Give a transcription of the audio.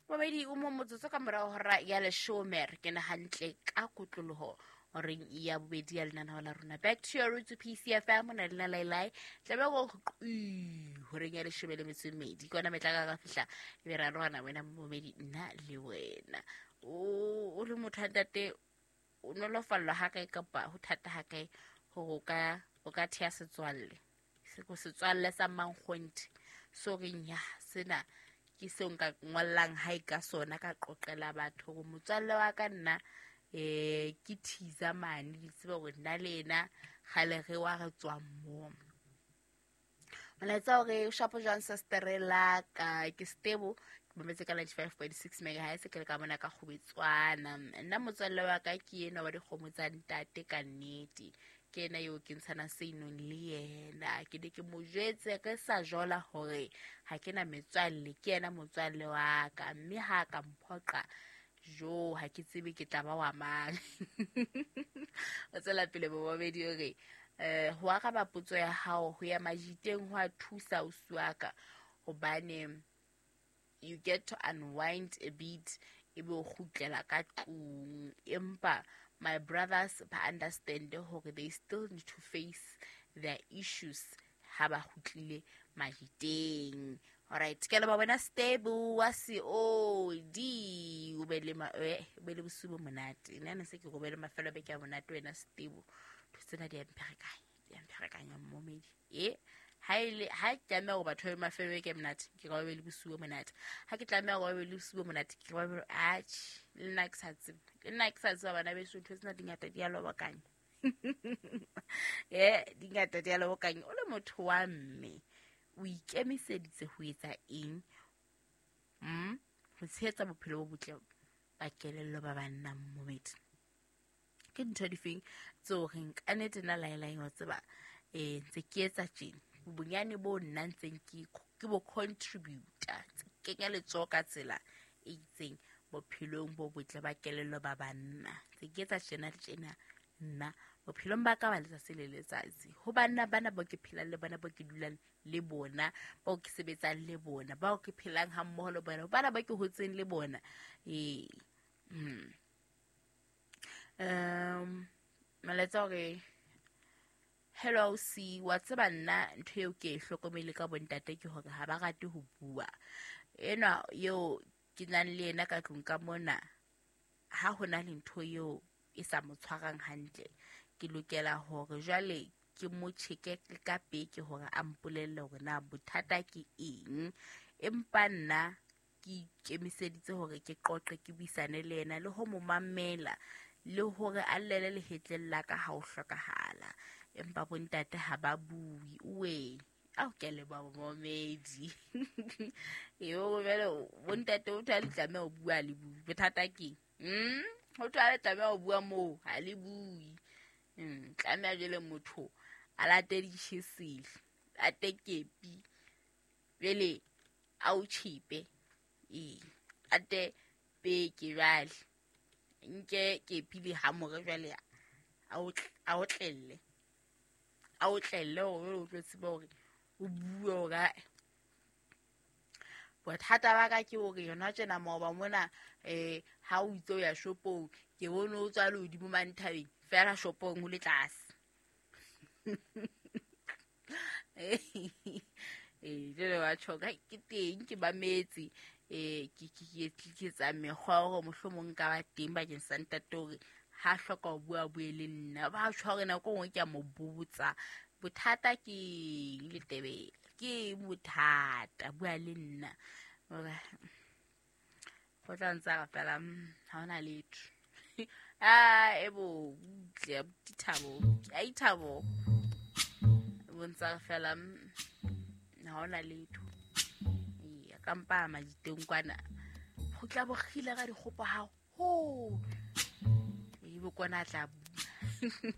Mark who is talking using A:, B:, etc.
A: Mobedi o mo motsotso ka morago hora ya leshome, re kena hantle ka kotloloho horeng ya bobedi ya lenaneo la rona Back to Your Roots, PCFM. O na le nalailai tlabe go horeng ya leshome le metso e mmedi, ke yona metla ka fihla e be re arogana wena momedi, nna le wena. O le motho wa ntate, o nolofallwa ha kae kapa ho thata ha kae gore o ka thea setswalle, setswalle sa mankgonthe so reng ya sena ke seo nka ngollang hae ka sona, ka qoqela batho gore motswalle wa ka nna ke thiza mane, di tsebe gore nna le ena gale re wa re tswang mo. Molaetsa hore shapo jwang sestere la ka, ke stable, ke mametse ka 95.6 megahertz, ke le ka mona ka Kgobetswana. Nna motswalle wa ka ke ena wa dikgomo tsa ntate, ka nnete ke ena eo ke ntshana seinong le yena. Ke ne ke mo jwetse re sa jola hore ha ke na metswalle, ke yena motswalle wa ka, mme ha ka mphoqa jo, ha ke tsebe ke tla ba wa mang. O tswela pele bobabedi o re ho araba potso ya hao, ho ya majiteng ho a thusa ausi wa ka, hobane you get to unwind a bit, ebe o kgutlela ka tlung. Empa my brothers ba understand hore they still need to face their issues ha ba kgutlile majiteng. Alright, ke leba wena Stable wa COD, o be le o be le bosiu bo monate. Nna ne se ke go be le mafelo a beke a monate wena Stable. Ntho tsena di a mpherekanya, di a mpherekanya mmomedi. E ha ile ha ke tlameha gore batho ba be mafelo a beke a monate, ke ka ba be le bosiu bo monate. Ha ke tlameha gore ba be le bosiu bo monate, ke ka ba be atjhe, le nna ke sa tsebe, le nna ke sa tseba. Bana beso, ntho tsena di ngata, di a lobokanya, di ngata, di a lobokanya. O le motho wa mme, o ikemiseditse ho etsa eng ho tshehetsa bophelo bo botle ba kelello ba banna mmomedi? Ke ntho difeng tseo reng ka nnete nna laelaeng wa tseba ntse ke etsa tjena, bonyane bo nna ntseng ke bo contributor, ntse ke kenya letsoho ka tsela e itseng bophelong bo botle ba kelello ba banna, ntse ke etsa tjena le tjena nna bophelong ba ka ba letsatsi le letsatsi, ho banna bana bao ke phelang le bona, bao ke dulang le bona, bao ke sebetsang le bona, bao ke phelang ha mmoho le bona, bana ba ke hotseng le bona? Ee, molaetsa hore hello ausi wa tseba, nna ntho eo ke e hlokomele ka bontate ke hore ha ba rate ho bua. Enwa eo ke nang le yena ka tlung ka mona, ha ho na le ntho eo e sa mo tshwarang hantle, ke lokela hore jwale ke mo cheke ka peke hore a mpolelle hore na bothata ke eng. Empa nna ke ikemiseditse hore ke qoqe, ke buisane le yena le ho mo mamela, le hore a llele lehetleng la ka ha ho hlokahala. Empa bontate ha ba bue oe. Ao, ke a leboha momedi eo. Jwale bontate o thwa le tlameha ho bua, le bue, bothata keng? Ho thwa le tlameha ho bua moo, ha le bue. Tlameha jwale motho a late ditjhesele, ate kepi, jwale a o tjhipe, ee, ate peke, jwale nke kepi le hamore, jwale a o tlelle, a o tlelle hore o tlo tsebe hore o bue hore ae, bothata ba ka ke hore yona tjena. Maoba mona ha o itse o ya shopong, ke bone o tswa le hodimo mane thabeng, fela shopong ho le tlase. Jwale wa tjho ke teng, ke mametse, ke etsa mekgwa hore mohlomong nka ba teng bakeng sa ntate hore ha hloka ho bua, bue le nna. Ba tjho hore nako e nngwe ke a mo botsa bothata ke eng, Letebele, ke eng bothata, bua le nna. Hore go tla ntse a re fela, ha hona letho." A ebo butle abuti Thabo, ai Thabo, bontsa re fela, ha hona letho." Ee, ka mpa majiteng kwana go tla bogile ka dikgopo haholo, ebe kwana a tla bua.